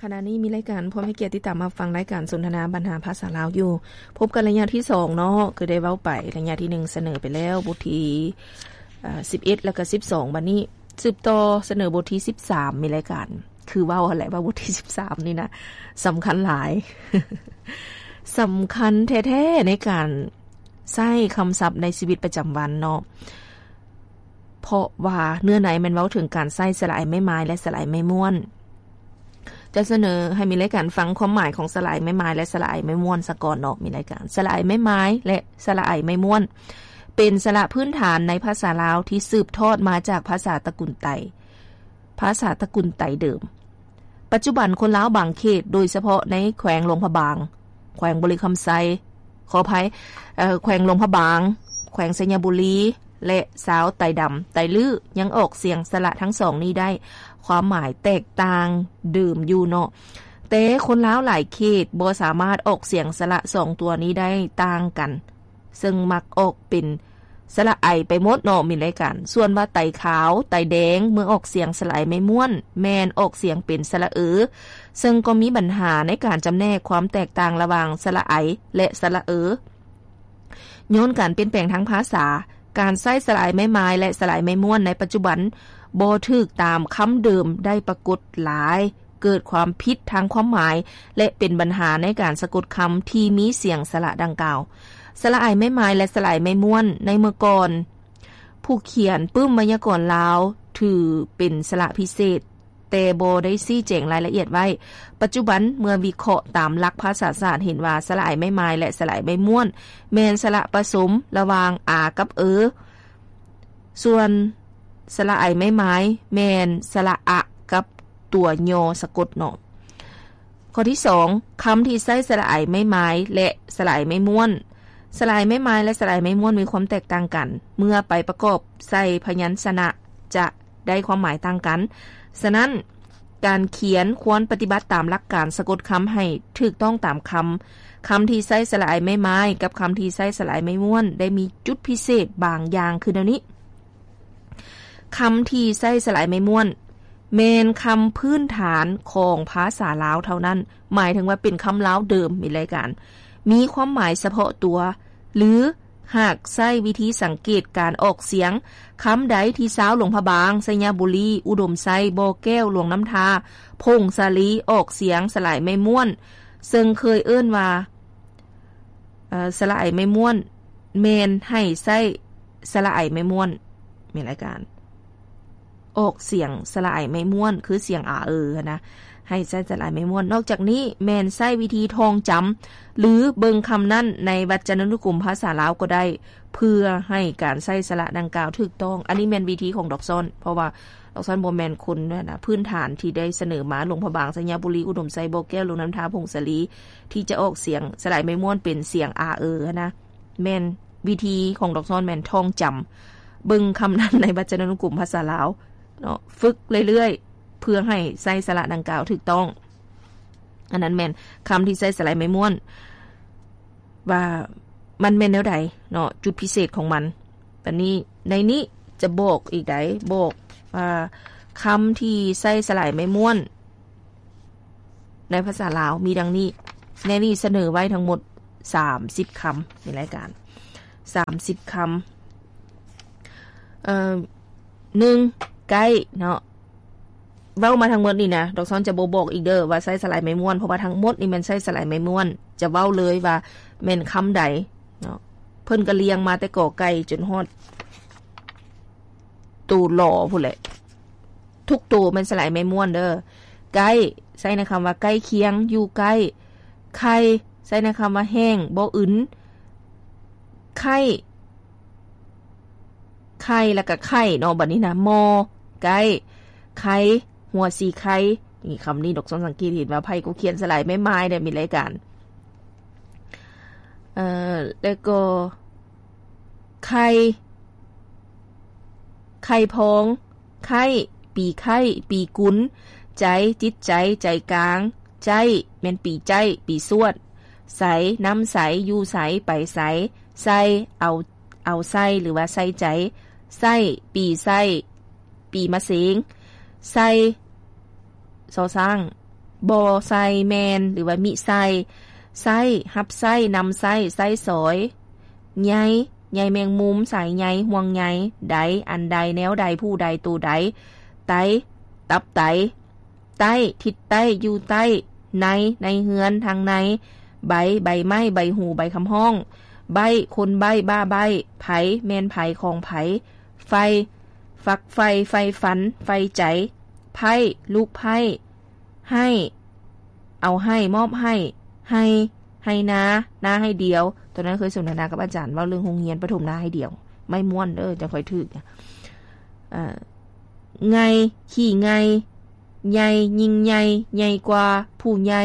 ຂະນະນີ້ມີລາຍການ ພວມໃຫ້ກຽດຕິດຕາມຮັບຟັງລາຍການສົນທະນາບັນຫາພາສາລາວຢູ່. ພົບກັນໄລຍະທີສອງເນາະ, ຄືໄດ້ເວົ້າໄປໄລຍະທີໜຶ່ງ ສະເໜີໄປແລ້ວ ບົດທີ ເອີ ສິບເອັດ ແລ້ວກໍ ສິບສອງ. ບັດນີ້ສືບຕໍ່ສະເໜີບົດທີ ສິບສາມ ມີລາຍການ ຄືເວົ້າຫັ້ນແຫຼະວ່າບົດທີ ສິບສາມ ນີ້ນະ ສຳຄັນຫຼາຍ ສຳຄັນແທ້ໆ ໃນການໃຊ້ຄຳສັບໃນຊີວິດປະຈຳວັນເນາະ. ເພາະວ່າເນື້ອໃນແມ່ນເວົ້າເຖິງການໃຊ້ສະຫຼະໄອໄມ້ໄມ້ ແລະ ສະຫຼະໄອໄມ້ມ້ວນ. ຈະສະເໜີໃຫ້ມີລາຍການຟັງຄວາມໝາຍຂອງສະຫຼະໄອໄມ້ໄມ້ ແລະ ສະຫຼະໄອໄມ້ມ້ວນສາກ່ອນເນາະ. ມີລາຍການ ສະຫຼະໄອໄມ້ໄມ້ ແລະ ສະຫຼະໄອໄມ້ມ້ວນ ເປັນສະຫຼະພື້ນຖານໃນພາສາລາວທີ່ສືບທອດມາຈາກພາສາຕະກຸນໄຕ, ພາສາຕະກຸນໄຕເດີມ. ປັດຈຸບັນຄົນລາວບາງເຂດ, ໂດຍສະເພາະໃນແຂວງຫຼວງພະບາງ, ແຂວງບໍລິຄຳໄຊ, ຂໍອະໄພ, ເອີ ແຂວງຫຼວງພະບາງ, ແຂວງໄຊຍະບູລີ ແລະ ຊາວໄຕດຳ, ໄຕລື້ ຍັງອອກສຽງສະຫຼະທັງສອງນີ້ໄດ້, ຄວາມໝາຍແຕກຕ່າງເດີມຢູ່ເນາະ. ແຕ່ຄົນລາວຫຼາຍເຂດບໍ່ສາມາດອອກສຽງສະຫຼະສອງຕົວນີ້ໄດ້ຕ່າງກັນ. ເຊິ່ງມັກອອກເປັນສະຫຼະໄອໄປໝົດເນາະ ມີລາຍການ. ສ່ວນວ່າໄຕຂາວ, ໄຕແດງ ເມື່ອອອກສຽງສະຫຼະໄອໄມ້ມ້ວນ ແມ່ນອອກສຽງເປັນສະຫຼະເອີ, ເຊິ່ງກໍມີບັນຫາໃນການຈຳແນກຄວາມແຕກຕ່າງລະຫວ່າງສະຫຼະໄອ ແລະ ສະຫຼະເອີ. ຍ້ອນການປ່ຽນແປງທາງພາສາ, ການໃຊ້ສະຫຼະໄອໄມ້ໄມ້ ແລະ ສະຫຼະໄອໄມ້ມ້ວນໃນປັດຈຸບັນບໍ່ຖືກຕາມຄຳເດີມໄດ້ປາກົດຫຼາຍ. ເກີດຄວາມຜິດທາງຄວາມໝາຍ ແລະ ເປັນບັນຫາໃນການສະກົດຄຳທີ່ມີສຽງສະຫຼະດັ່ງກ່າວ. ສະຫຼະໄອໄມ້ໄມ້ ແລະ ສະຫຼະໄອໄມ້ມ້ວນໃນເມື່ອກ່ອນ, ຜູ້ຂຽນປຶ້ມໄວຍາກອນລາວຖືເປັນສະຫຼະພິເສດ, ແຕ່ບໍ່ໄດ້ຊີ້ແຈງລາຍລະອຽດໄວ້. ປັດຈຸບັນເມື່ອວິເຄາະຕາມຫຼັກພາສາສາດ ເຫັນວ່າສະຫຼະໄອໄມ້ໄມ້ ແລະ ສະຫຼະໄອໄມ້ມ້ວນ ແມ່ນສະຫຼະປະສົມລະຫວ່າງ ອາ ກັບ ເອີ. ສ່ວນສະຫຼະໄອໄມ້ໄມ້ ແມ່ນສະຫຼະອະກັບຕົວຍໍສະກົດເນາະ. ຂໍ້ທີສອງ, ຄຳທີ່ໃຊ້ສະຫຼະໄອໄມ້ໄມ້ ແລະ ສະຫຼະໄອໄມ້ມ້ວນ. ສະຫຼະໄອໄມ້ໄມ້ ແລະ ສະຫຼະໄອໄມ້ມ້ວນມີຄວາມແຕກຕ່າງກັນ ເມື່ອໄປປະກອບໃສ່ພະຍັນຊະນະຈະ ໄດ້ຄວາມໝາຍຕ່າງກັນ. ສະນັ້ນ, ການຂຽນຄວນປະຕິບັດຕາມຫຼັກການສະກົດຄຳໃຫ້ຖືກຕ້ອງຕາມຄຳ. ຄຳທີ່ໃຊ້ສະຫຼະໄອໄມ້ໄມ້ກັບຄຳທີ່ໃຊ້ສະຫຼະໄອໄມ້ມ້ວນ ໄດ້ມີຈຸດພິເສດບາງຢ່າງຄືແນວນີ້. ຄຳທີ່ໃຊ້ສະຫຼະໄອໄມ້ມ້ວນ ແມ່ນຄຳພື້ນຖານຂອງພາສາລາວເທົ່ານັ້ນ, ໝາຍເຖິງວ່າເປັນຄຳລາວເດີມ, ມີລາຍການ ມີຄວາມໝາຍສະເພາະຕົວ ຫຼື ຫາກໃຊ້ວິທີສັງເກດການອອກສຽງ, ຄຳໃດທີ່ຊາວຫຼວງພະບາງ, ໄຊຍະບູລີ, ອຸດົມໄຊ, ບໍ່ແກ້ວ, ຫຼວງນ້ຳທາ, ຜົ້ງສາລີ ອອກສຽງສະຫຼາຍໄມ້ມ້ວນ, ເຊິ່ງເຄີຍເອີ້ນວ່າ ເອີ ສະຫຼາຍໄມ້ມ້ວນ, ແມ່ນໃຫ້ໃຊ້ສະຫຼາຍໄມ້ມ້ວນ, ແມ່ນລາຍການ ອອກສຽງສະຫຼາຍໄມ້ມ້ວນ ຄືສຽງອາເອີຫັ້ນນະ, ໃຫ້ໃຊ້ສະຫຼາຍໄມ້ມ້ວນ. ນອກຈາກນີ້ ແມ່ນໃຊ້ວິທີທ່ອງຈຳ ຫຼື ເບິ່ງຄຳນັ້ນໃນວັດຈະນານຸກົມພາສາລາວກໍໄດ້ ເພື່ອໃຫ້ການໃຊ້ສະຫຼະດັ່ງກ່າວຖືກຕ້ອງ. ອັນນີ້ແມ່ນວິທີຂອງດອກຊອນ, ເພາະວ່າດອກຊອນບໍ່ແມ່ນຄົນນັ້ນນະ ພື້ນຖານທີ່ໄດ້ສະເໜີມາ ຫຼວງພະບາງ, ໄຊຍະບູລີ, ອຸດົມໄຊ, ບໍ່ແກ້ວ, ຫຼວງນ້ຳທາ, ຜົ້ງສາລີ ທີ່ຈະອອກສຽງສະຫຼາຍໄມ້ມ້ວນເປັນສຽງອາເອີຫັ້ນນະ. ແມ່ນວິທີຂອງດອກຊອນແມ່ນທ່ອງຈຳ ເບິ່ງຄຳນັ້ນໃນວັດຈະນານຸກົມພາສາລາວເນາະ, ຝຶກເລື້ອຍໆ ເພື່ອໃຫ້ໃຊ້ສະຫຼະດັ່ງກ່າວຖືກຕ້ອງ. ອັນນັ້ນແມ່ນຄຳທີ່ໃຊ້ສະຫຼາຍໄມ້ມ້ວນ ວ່າມັນແມ່ນແນວໃດເນາະ, ຈຸດພິເສດຂອງມັນ. ບັດນີ້ໃນນີ້ຈະບອກອີກໃດ໋, ບອກວ່າຄຳທີ່ໃຊ້ສະຫຼາຍໄມ້ມ້ວນ ໃນພາສາລາວມີດັ່ງນີ້. ໃນນີ້ສະເໜີໄວ້ທັງໝົດສາມສິບຄຳໃນລາຍການ, ສາມສິບຄຳ. ເອີ ໜຶ່ງ ໃກ້ເນາະ, ເວົ້າມາທັງໝົດນີ້ນະ, ດອກຊອນຈະບໍ່ບອກອີກເດີ້ວ່າໃຊ້ສະຫຼາຍໄມ້ມ້ວນ, ເພາະວ່າທັງໝົດນີ້ແມ່ນໃຊ້ສະຫຼາຍໄມ້ມ້ວນ, ຈະເວົ້າເລີຍວ່າແມ່ນຄຳໃດເນາະ. ເພິ່ນກໍລຽງມາແຕ່ ກ ໄກ່ ຈົນຮອດ ໂຕ ລ ພຸ້ນແຫຼະ. ທຸກໂຕແມ່ນສະຫຼາຍໄມ້ມ້ວນເດີ້. ໃກ້ ໃຊ້ໃນຄຳວ່າໃກ້ຄຽງ, ຢູ່ໃກ້. ໄຂ່ ໃຊ້ໃນຄຳວ່າແຫ້ງ, ບໍ່ອຶນ. ໄຂ່ ໄຂ່ ແລ້ວກະໄຂ່ເນາະ. ບັດນີ້ນະ ມໍ ໄກ່ ໄຂ່ ຫົວສີໄຂ່. ນີ້ ຄຳນີ້ດອກຊອນສັງເກດເຫັນວ່າໃຜກໍຂຽນສະຫຼາຍໄມ້ມ້າຍໄດ້ ມີລາຍການ. ເອີ ແລ້ວກໍ ໄຂ່ ໄຂ່ພອງ ໄຂ້ ປີໄຂ້ ປີກຸນ ໃຈ ຈິດໃຈ ໃຈກາງ ໃຈ້ ແມ່ນປີໃຈ້ ປີຊວດ ໃສ ນຳໃສ ຢູ່ໃສ ໄປໃສ ໃສ່ ເອົາ ເອົາໃສ່ ຫຼືວ່າໃສ່ໃຈ ໃສ່ ປີໃສ່ ປີມະເສັງ ໃສ່ ຊໍຊ້າງ ບໍ່ໃສ່ ແມ່ນ ຫຼືວ່າມິໃສ່. ໃຊ້ ຮັບໃຊ້ ນຳໃຊ້ ໃຊ້ສອຍ. ໃຍ ໃຍແມງມຸມ ສາຍໃຍ ຫ່ວງໃຍ. ໃດ ອັນໃດ ແນວໃດ ຜູ້ໃດ ໂຕໃດ. ໄຕ ຕັບໄຕ. ໃຕ້ ທິດໃຕ້ ຢູ່ໃຕ້. ໃນ ໃນເຮືອນ ທາງໃນ. ໃບ ໃບໄມ້ ໃບຫູ ໃບຄຳຮ້ອງ. ໃບ້ ຄົນໃບ້ ບ້າໃບ້. ໃຜ ແມ່ນໃຜ ຂອງໃຜ. ໃຝ່ ຝັກໃຝ່ ໃຝ່ຝັນ ໃຝ່ໃຈ. ໃພ້ ລູກໃພ້. ໃຫ້ ເອົາໃຫ້ ມອບໃຫ້. ໄຮ່ ໄຮ່ນາ ນາໄຮ່ດຽວ. ຕອນນັ້ນເຄີຍສົນທະນາກັບອາຈານ ເວົ້າເລື່ອງໂຮງຮຽນປະຖົມນາໄຮ່ດຽວ. ໄມ້ມ້ວນເດີ ຈັ່ງຄ່ອຍຖືກ. ເອີ ໄງ່ ຂີ້ໄງ່. ໃຫຍ່ ຍິ່ງໃຫຍ່ ໃຫຍ່ກວ່າ ຜູ້ໃຫຍ່.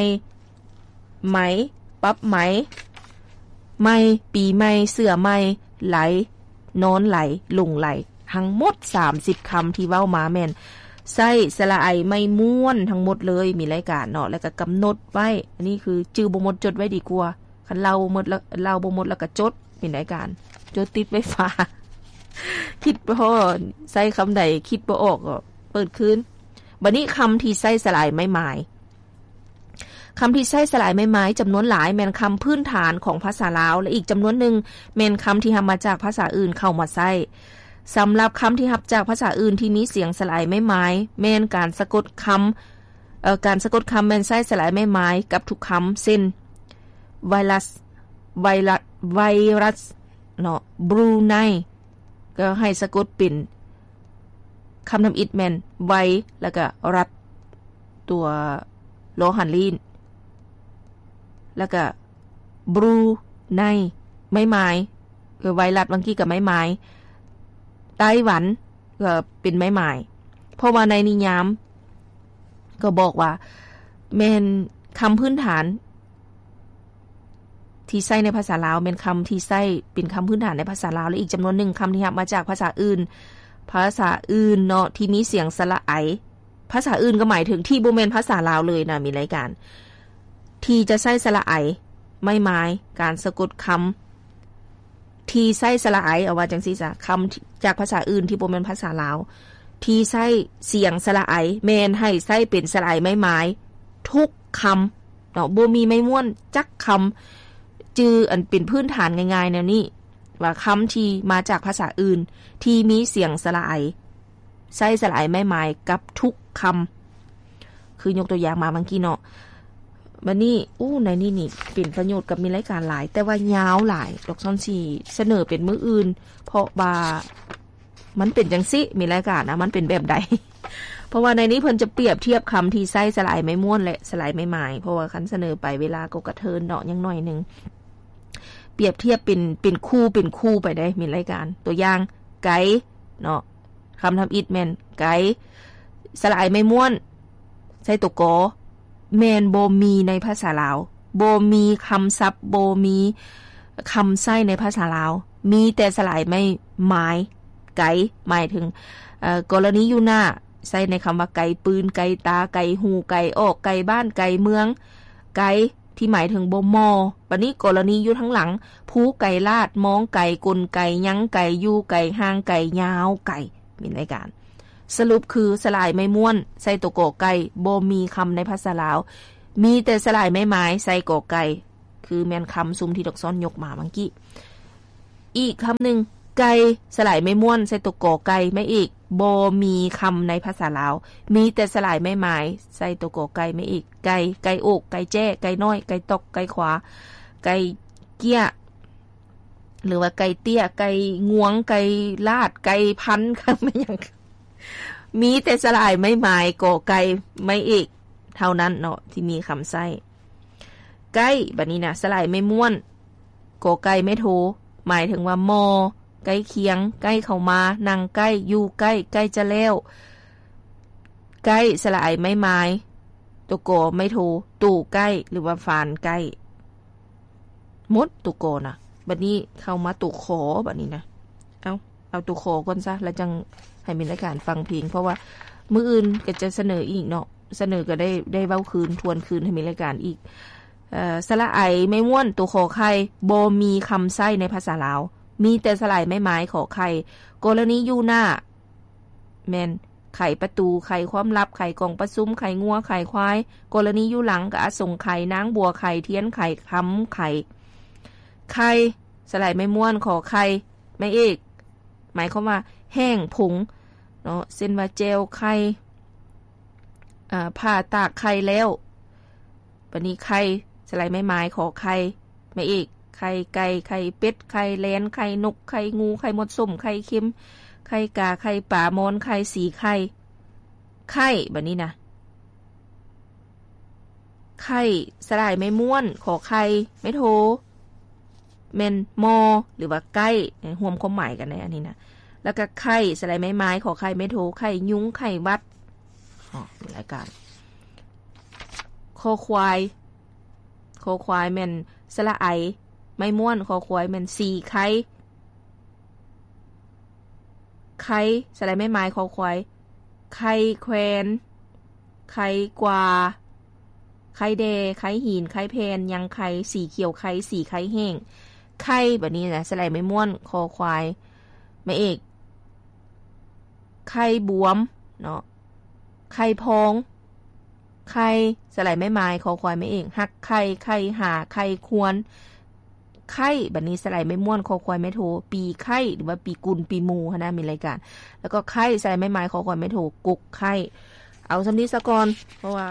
ໄໝ ປັບໄໝ. ໃໝ່ ປີໃໝ່ ເສື້ອໃໝ່. ໄຫຼ ນອນໄຫຼ ຫຼົງໄຫຼ. ທັງໝົດສາມສິບຄຳທີ່ເວົ້າມາແມ່ນໃຊ້ສະຫຼະໄອໄມ້ມ້ວນທັງໝົດເລີຍ ມີລາຍການເນາະ ແລ້ວກໍກຳນົດໄວ້. ອັນນີ້ຄືຈື່ບໍ່ໝົດ ຈົດໄວ້ດີກວ່າ. ຄັນເລົ່າໝົດແລ້ວ ເລົ່າບໍ່ໝົດແລ້ວກໍຈົດ ມີລາຍການ ຈົດຕິດໄວ້ຝາ. ຄິດພໍ້ ໃຊ້ຄຳໃດຄິດບໍ່ອອກກໍເປີດຄືນ. ບັດນີ້ຄຳທີ່ໃຊ້ສະຫຼະໄອໄມ້ໝາຍ. ຄຳທີ່ໃຊ້ສະຫຼະໄອໄມ້ໝາຍຈຳນວນຫຼາຍແມ່ນຄຳພື້ນຖານຂອງພາສາລາວ ແລະ ອີກຈຳນວນໜຶ່ງແມ່ນຄຳທີ່ຮັບມາຈາກພາສາອື່ນເຂົ້າມາໃຊ້. ສຳລັບຄຳທີ່ຮັບຈາກພາສາອື່ນທີ່ມີສຽງສະຫຼະໄອໄມ້ໝາຍ ແມ່ນການສະກົດຄຳ ເອີ ການສະກົດຄຳແມ່ນໃຊ້ສະຫຼະໄອໄມ້ໝາຍກັບທຸກຄຳ ເຊັ່ນ ໄວຣັສ ໄວຣັສ ໄວຣັສເນາະ ບຣູໄນ ກໍໃຫ້ສະກົດເປັນຄຳທຳອິດແມ່ນໄວ ແລ້ວກະຣັດ ຕົວລໍຫັນລີ້ນ ແລ້ວກະບຣູໄນ ໄມ້ໝາຍ ຄືໄວຣັດວັງກີ້ກະໄມ້ໝາຍ ໄຕ້ຫວັນ ກໍເປັນໄມ້ໝາຍ. ເພາະວ່າໃນນິຍາມກໍບອກວ່າແມ່ນຄຳພື້ນຖານ ທີ່ໃຊ້ໃນພາສາລາວ ແມ່ນຄຳທີ່ໃຊ້ເປັນຄຳພື້ນຖານໃນພາສາລາວ ແລະ ອີກຈຳນວນໜຶ່ງຄຳທີ່ຮັບມາຈາກພາສາອື່ນ ພາສາອື່ນເນາະ ທີ່ມີສຽງສະຫຼະໄອ. ພາສາອື່ນກໍໝາຍເຖິງທີ່ບໍ່ແມ່ນພາສາລາວເລີຍນະ ມີລາຍການ ທີ່ຈະໃຊ້ສະຫຼະໄອ ໄມ້ໝາຍ ການສະກົດຄຳ ທີ່ໃຊ້ສະຫຼະໄອ ເອົາວ່າຈັ່ງຊີ້ຊະ ຄຳຈາກພາສາອື່ນທີ່ບໍ່ແມ່ນພາສາລາວ ທີ່ໃຊ້ສຽງສະຫຼະໄອ ແມ່ນໃຫ້ໃຊ້ເປັນສະຫຼະໄອໄມ້ໝາຍທຸກຄຳເນາະ ບໍ່ມີໄມ້ມ້ວນຈັກຄຳ. ຈື່ອັນເປັນພື້ນຖານງ່າຍໆແນວນີ້ ວ່າຄຳທີ່ມາຈາກພາສາອື່ນທີ່ມີສຽງສະຫຼະໄອ ໃຊ້ສະຫຼະໄອໄມ້ໝາຍກັບທຸກຄຳ ຄືຍົກຕົວຢ່າງມາເມື່ອກີ້ເນາະ. ບັດນີ້ ໂອ້ ໃນນີ້ນີ້ເປັນປະໂຫຍດກັບມີລາຍການຫຼາຍ ແຕ່ວ່າຍາວຫຼາຍດອກ ຊ້ອນຊິສະເໜີເປັນມື້ອື່ນ ເພາະວ່າມັນເປັນຈັ່ງຊີ້ ມີລາຍການນະ ມັນເປັນແບບໃດ. ເພາະວ່າໃນນີ້ເພິ່ນຈະປຽບທຽບຄຳທີ່ໃຊ້ສະຫຼະໄອໄມ້ມ້ວນ ແລະ ສະຫຼະໄອໄມ້ໝາຍ ເພາະວ່າຄັນສະເໜີໄປເວລາກໍກະເທີນເນາະ ຍັງໜ້ອຍໜຶ່ງ. ປຽບທຽບເປັນ ເປັນຄູ່ ເປັນຄູ່ໄປເດ້ ມີລາຍການ ຕົວຢ່າງ ໄກ ເນາະ ຄຳທຳອິດແມ່ນ ໄກ ສະຫຼະໄອໄມ້ມ້ວນ ໃສ່ຕົວ ກ ແມ່ນບໍ່ມີໃນພາສາລາວ ບໍ່ມີຄຳສັບ ບໍ່ມີຄຳໃຊ້ໃນພາສາລາວ ມີແຕ່ສະຫຼະໄອໄມ້ໝາຍ ໄກ ໝາຍເຖິງ ເອີ ກໍລະນີຢູ່ໜ້າ ໃຊ້ໃນຄຳວ່າ ໄກປືນ ໄກຕາ ໄກຫູ ໄກອອກ ໄກບ້ານ ໄກເມືອງ ໄກ ທີ່ໝາຍເຖິງບໍ່ໝໍ່. ບັດນີ້ກໍລະນີຢູ່ທາງຫຼັງ ພູໄກລາດ ມອງໄກ ກົນໄກ ຍັງໄກ ຢູ່ໄກ ຫ່າງໄກ ຍາວໄກ ມີລາຍການ. ສະຫຼຸບຄື ສະຫຼະໄອໄມ້ມ້ວນ ໃສ່ຕົວ ກ ໄກ່ ບໍ່ມີຄຳໃນພາສາລາວ ມີແຕ່ສະຫຼະໄອໄມ້ໝາຍ ໃສ່ ກ ໄກ່ ຄືແມ່ນຄຳຊຸມທີ່ດອກຊ້ອນຍົກມາເມື່ອກີ້. ອີກຄຳໜຶ່ງ ໄກ່ ສະຫຼະໄອໄມ້ມ້ວນ ໃສ່ຕົວ ກ ໄກ່ ໄມ້ເອກ ບໍ່ມີຄຳໃນພາສາລາວ ມີແຕ່ສະຫຼະໄອໄມ້ໝາຍ ໃສ່ຕົວ ກ ໄກ່ ໄມ້ເອກ ໄກ່ ໄກ່ໂອກ ໄກ່ແຈ້ ໄກ່ນ້ອຍ ໄກ່ຕອກ ໄກ່ຂວາ ໄກ່ເກ້ຍ ຫຼືວ່າໄກ່ເຕ້ຍ ໄກ່ງວງ ໄກ່ລາດ ໄກ່ພັນ ແມ່ນຫຍັງ ມີແຕ່ສະຫຼະໄອໄມ້ໝາຍ ກ ໄກ່ ໄມ້ເອກ ເທົ່ານັ້ນເນາະ ທີ່ມີຄຳໃຊ້. ໄກ້ ບັດນີ້ນະ ສະຫຼະໄອໄມ້ມ້ວນ ກ ໄກ່ ໄມ້ໂທ ໝາຍເຖິງວ່າໝໍ່ ໃກ້ຄຽງ ໃກ້ເຂົ້າມາ ນັ່ງໃກ້ ຢູ່ໃກ້ ໃກ້ຈະແລ້ວ. ໄກ້ ສະຫຼະໄອໄມ້ໝາຍ ຕົວ ກ ໄມ້ໂທ ໂຕໃກ້ ຫຼືວ່າຟານໃກ້. ໝົດຕົວ ກ ນະ ບັດນີ້ເຂົ້າມາຕົວ ຂ ບັດນີ້ນະ ເອົາ ເອົາຕົວ ຂ ກ່ອນຊະ ແລ້ວຈັ່ງໃຫ້ມີລາຍການຟັງເພງ ເພາະວ່າມື້ອື່ນກໍຈະສະເໜີອີກເນາະ ສະເໜີກໍໄດ້ ໄດ້ເວົ້າຄືນ ທວນຄືນໃຫ້ມີລາຍການອີກ. ເອີ ສະຫຼະໄອໄມ້ມ້ວນ ຕົວ ຂ ໄຂ່ ບໍ່ມີຄຳໃຊ້ໃນພາສາລາວ ມີແຕ່ສະຫຼະໄອໄມ້ໝາຍ ຂ ໄຂ່ ກໍລະນີຢູ່ໜ້າ ແມ່ນ ໄຂປະຕູ, ໄຂຄວາມລັບ, ໄຂກອງປະຊຸມ, ໄຂງົວ, ໄຂຄວາຍ, ກໍລະນີຢູ່ຫຼັງ, ກະອະສົງໄຂ, ນາງບົວໄຂ, ທຽນໄຂ, ຄຳໄຂ. ໄຂ່ ສະໄຫຼໄມ້ມ້ວນ ຂໍໄຂ່ ໄມ້ເອກ ໝາຍຄວາມວ່າແຫ້ງຜົງເນາະ ເຊັ່ນວ່າແຈ່ວໄຂ່ ອາ ຜ່າຕາກໄຂ່ແລ້ວ. ບັດນີ້ໄຂ່ ສະໄຫຼໄມ້ໝາຍ ຂໍໄຂ່ ໄມ້ເອກ ໄຂ່ໄກ່ ໄຂ່ເປັດ ໄຂ່ແລນ ໄຂ່ນົກ ໄຂ່ງູ ໄຂ່ໝົດສົ້ມ ໄຂ່ເຄັມ ໄຂ່ກາ ໄຂ່ປາ ມອນໄຂ່ ສີໄຂ່ ໄຂ່ ບັດນີ້ນະ ໄຂ່ ສະຫຼາຍໄມ້ມ້ວນ ຂໍໄຂ່ ໄມ້ໂທ ແມ່ນມໍ ຫຼືວ່າໄກ້ ຮ່ວມຄວາມໝາຍກັນໃນອັນນີ້ນະ. ແລ້ວກະໄຂ່ ສະຫຼາຍໄມ້ໝາຍ ຂໍໄຂ່ ໄມ້ໂທ ໄຂ່ຍຸງ ໄຂ້ຫວັດ. ອໍ ມີລາຍການ ຄໍຄວາຍ ຄໍຄວາຍແມ່ນສະຫຼະໄອ ໄມ້ມ້ວນ ຄໍຄວາຍແມ່ນສີໄຄ ໄຄ ສະຫຼາຍໄມ້ໝາຍ ຄໍຄວາຍ ໄຄແຄວນ ໄຄກວາ ໄຄແດ່ ໄຄຫີນ ໄຄແຜ່ນ ຍັງໄຄ ສີຂຽວໄຄ ສີໄຄແຫ້ງ ໄຂ່ ບັດນີ້ນະ ສະຫຼາຍໄມ້ມ້ວນ ຄໍຄວາຍ ໄມ້ເອກ ໄຂ່ບວມເນາະ ໄຂ່ພອງ ໄຂ່ ສະໄຫຼໄມ້ໝາຍ ຄໍຄວາຍໄມ້ເອກ ຮັກໄຂ່ ໄຂ່ຫາ ໄຂ່ຄວນ ໄຂ່ ບັດນີ້ສະໄຫຼໄມ້ມ້ວນ ຄໍຄວາຍໄມ້ໂທ ປີໄຂ່ ຫຼືວ່າປີກຸນ ປີໝູ່ຫັ້ນນະ ມີລາຍການ ແລ້ວກໍໄຂ່ ສະໄຫຼໄມ້ໝາຍ ຄໍຄວາຍໄມ້ໂທ ກົກໄຂ່. ເອົາສ່ຳນີ້ສາກ່ອນ ເພາະວ່າ